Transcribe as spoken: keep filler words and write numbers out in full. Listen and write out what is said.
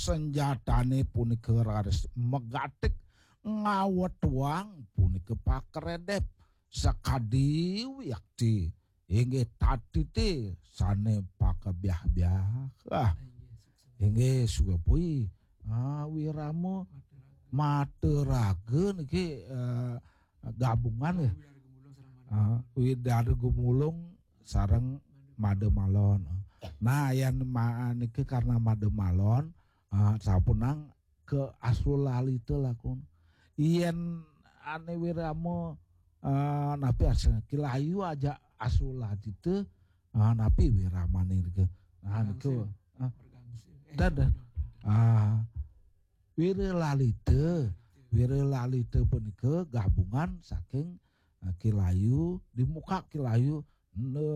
Senjatane punika raris megatik ngawetuang punika pakeredep sakadi wiakti inggih tatiti sane pakebiah-biah. Ah, inggih suwe pui. Ah, wirama materaga niki eh, gabungan ya. Ah, Widara Gumulung sareng Made Malon. Nah, yen ma, niki karena Made Malon, ah, sapunang ke Asulalita lakun. Yen ane wirama eh, napi asal Kilayu aja Asulalita, ah, napi wiramane niki. Nah, niku. Ah, dan, dan. Ah, Wiralalita. Wiralalita punika gabungan saking eh, Kilayu, di muka Kilayu ne